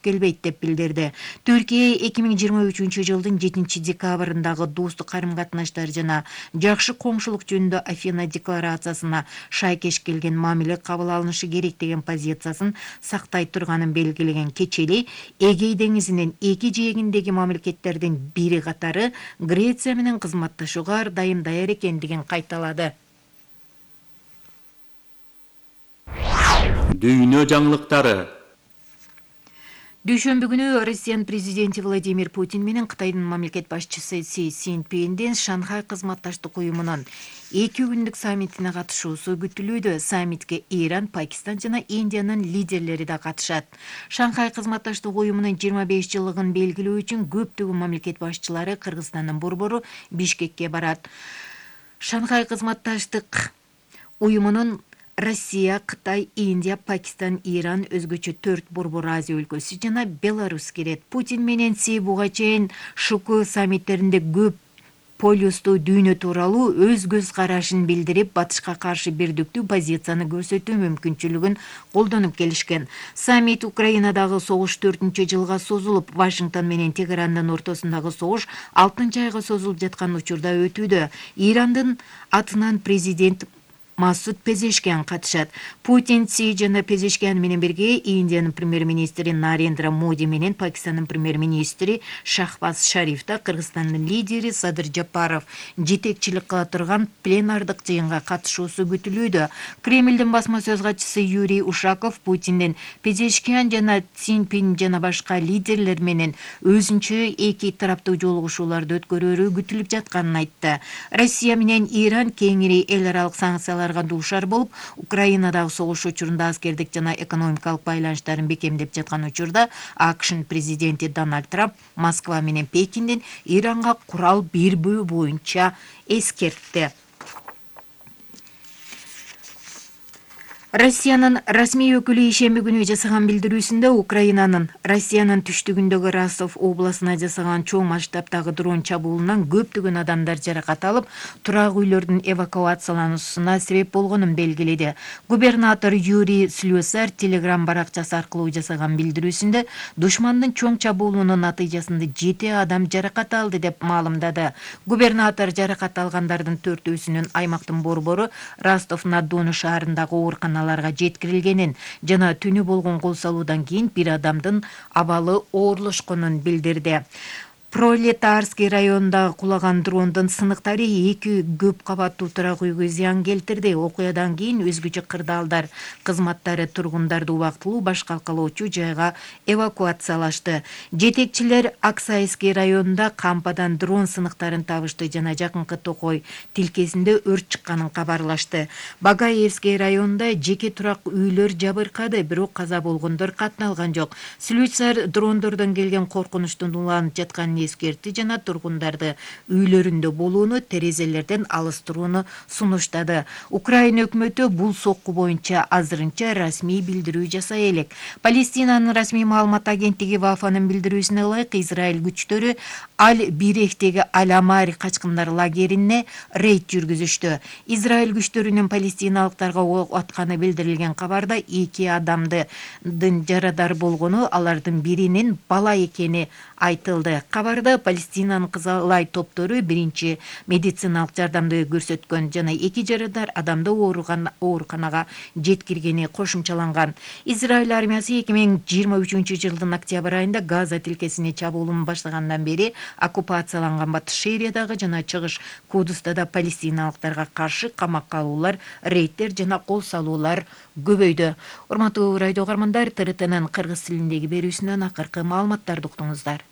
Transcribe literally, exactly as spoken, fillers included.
келбейт деп билдирди. Түркия эки миң жыйырма үчүнчү жылдын жетинчи декабрындагы достук карым-катнаштар жана жакшы коңшулук жөнүндө Афина декларациясына шайкеш келген мамиле кабыл алынышы керек деген позициясын сактай турганын белгилеген Кечели Эгей деңизинин эки жээгиндеги мамлекеттердин бири катары Греция менен кызматташууга ар дайым даяр экендигин кайталады. Дүйнө жаңылыктары. Дүйшөмбү күнү Россиянын президенти Владимир Путин менен Кытайдын мамлекет башчысы Си Цзиньпиндин Шанхай кызматташтык уюмунун эки күндүк саммитине катышуусу күтүлүүдө. Саммитке Иран, Пакистан жана Индиянын лидерлери да катышат. Шанхай кызматташтык уюмунун жыйырма беш жылдыгын белгилөө үчүн көптөгөн мамлекет башчылары Кыргызстандын борбору Бишкекке барат. Шанхай кызматташтык уюмунун Россия, Кытай, Индия, Пакистан, Иран, өзгөчө төрт борбор Азия өлкөсү жана Беларусь кирет. Путин менен Си буга чейин ШУК саммиттеринде көп полюстуу дүйнө тууралуу өз көз карашын билдирип, батышка каршы бирдиктүү позицияны көрсөтүү мүмкүнчүлүгүн колдонуп келишкен. Саммит Украинадагы согуш төртүнчү жылга созулуп, Вашингтон менен Тегерандын ортосундагы согуш алтынчы айга созулуп жаткан учурда өтүүдө. Ирандын атынан президент Масуд Пезешкиан катышат. Путин, Си жана Пезешкиан менен бирге Индиянын премьер-министри Нарендра Моди менен Пакистандын премьер-министри Шахбаз Шариф да Кыргызстандын лидери Садыр Жапаров жетекчилик кыла турган пленардык жыйынга катышуусу күтүлүүдө. Кремлдин басма сөз катчысы Юрий Ушаков Путиндин Пезешкиан жана Цзиньпин жана башка лидерлер менен өзүнчө эки тараптуу жолугушууларды өткөрөрү күтүлүп жатканын айтты. Россия менен Иран кеңири эл аралык санкциялар дуушар болуп, Украинадагы согуш учурунда аскердик жана экономикалык байланыштарын бекемдеп жаткан учурда АКШнын президенти Дональд Трамп Москва менен Пекиндин Иранга курал бербөө боюнча эскертти. Россиянын расмий өкүлү ишемби күнү жасаган билдирүүсүндө Украинанын Россиянын түштүгүндөгү Ростов областына жасаган чоң масштабтагы дрон чабуулунан көптөгөн адамдар жаракат алып, турак үйлөрдүн эвакуациялануусуна себеп болгонун белгиледи. Губернатор Юрий Слюсар Телеграм баракчасы аркылуу жасаган билдирүүсүндө душмандын чоң чабуулунун натыйжасында жети адам жаракат алды деп маалымдады. Губернатор жаракат алгандардын төртөөсүнүн аймактын борбору Ростов-на-Дону шаарындагы ооруканаларга жеткирилгенин жана түнү болгон кол салуудан кийин бир адамдын абалы оорлошконун билдирди. Пролетарский районундагы кулаган дрондун сыныктары эки көп кабаттуу турак үйгө зыян келтирди. Окуядан кийин өзгөчө кырдаалдар кызматтары тургундарды убактылуу баш калкалоочу жайга эвакуациялашты. Жетекчилер Аксайский районунда кампадан дрон сыныктарын табышты жана жакынкы Токой тилкесинде өрт чыкканын кабарлашты. Багаевский районунда жеке турак үйлөр жабыркады, бирок каза болгондор катталган жок. Слюсар дрондордон келген коркунучтун уланып жатканын эскертти жана тургундарды үйлөрүндө болууну, терезелерден алыстырууну сунуштады. Украина өкмөтү бул сокку боюнча азырынча расмий билдирүү жасай элек. Палестинанын расмий маалымат агенттиги Вафанын билдирүүсүнө ылайык, Израиль күчтөрү Аль-Бирехтеги Аль-Амари качкындар лагерине рейд жүргүзүштү. Израиль күчтөрүнүн палестиналыктарга ок атканы билдирилген кабарда эки адамдын жарадар болгону, алардын биринин бала экени айтылды. Кабарда Палестинанын Кызылай топтору биринчи медициналык жардамды көрсөткөн жана эки жарадар адамды ооруканага жеткиргени кошумчаланган. Израиль армиясы эки миң жыйырма үчүнчү жылдын октябрь айында Газа тилкесине чабуулун баштагандан бери оккупацияланган Батыш Шериядагы жана Чыгыш Кудуста да палестиналыктарга каршы камакка алуулар, рейдтер жана кол салуулар көбөйдү. Урматтуу радио угармандар, ТРТнын кыргыз тилиндеги берүүсүнөн акыркы маалыматтарды уктуңуздар.